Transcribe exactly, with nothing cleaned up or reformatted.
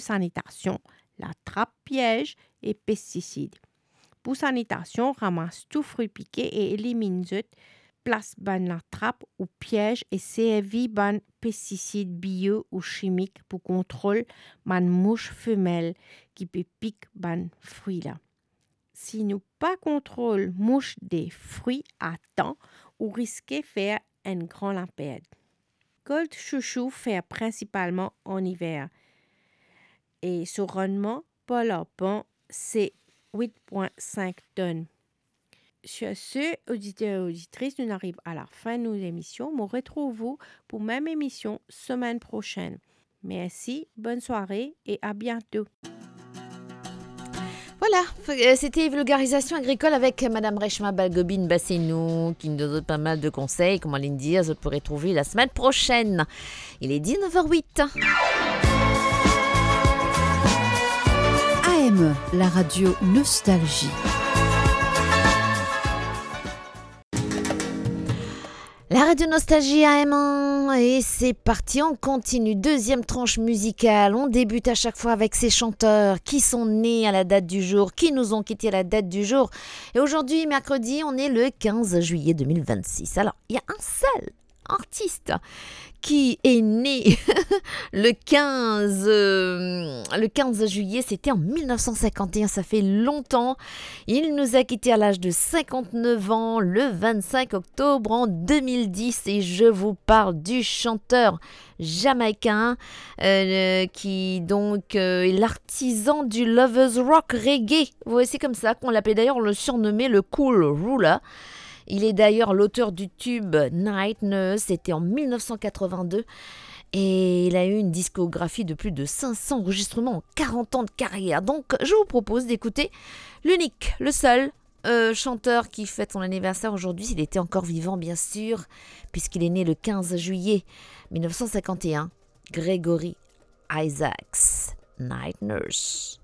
sanitasion, latrap, piez e pestisid. Pou sanitasion, ramas tou fri pike e eliminn zot, plas bann latrap ou piez e servi bann pestisid bio ou simik pou kontrol bann mous femel ki pe pik bann fri la. Si nou pa kontrol mous de fri a tan, ou riske fer enn gran lapert. Kolt chouchou fer prinsipalman an iver e so rannman par larpan se wit pwin sink tonn. Sur ce, oditer e oditris, nou ariv a lafin nou lemision. Mo retrouv ou pou mem emision semenn prosenn. Mersi, bonn sware e a biento. Voilà, euh, c'était Vulgarisation agricole avec Madame Reshma Balgobin Bassinou, qui nous donne pas mal de conseils, kouma li dir, zot pou retrouve la semaine prochaine. Il est dix-neuf heures huit. A M, la radio Nostalgie. La Radio Nostalgie A M un, et c'est parti, on continue. Deuxième tranche musicale. On débute à chaque fois avec ces chanteurs qui sont nés à la date du jour, qui nous ont quittés à la date du jour. Et aujourd'hui, mercredi, on est le quinze juillet deux mille vingt-six. Alors, il y a un seul artiste qui est né le quinze, euh, le quinze juillet, c'était en mille neuf cent cinquante et un, ça fait longtemps. Il nous a quittés à l'âge de cinquante-neuf ans, le vingt-cinq octobre en deux mille dix, et je vous parle du chanteur jamaïcain, euh, qui donc, euh, est l'artisan du lovers rock reggae. Voici comme ça qu'on l'appelait. D'ailleurs, on le surnommait le Cool Ruler. Il est d'ailleurs l'auteur du tube Night Nurse, c'était en mille neuf cent quatre-vingt-deux. Et il a eu une discographie de plus de cinq cents enregistrements en quarante ans de carrière. Donc, je vous propose d'écouter l'unique, le seul, euh, chanteur qui fête son anniversaire aujourd'hui, s'il était encore vivant, bien sûr, puisqu'il est né le quinze juillet mille neuf cent cinquante et un, Gregory Isaacs, Night Nurse.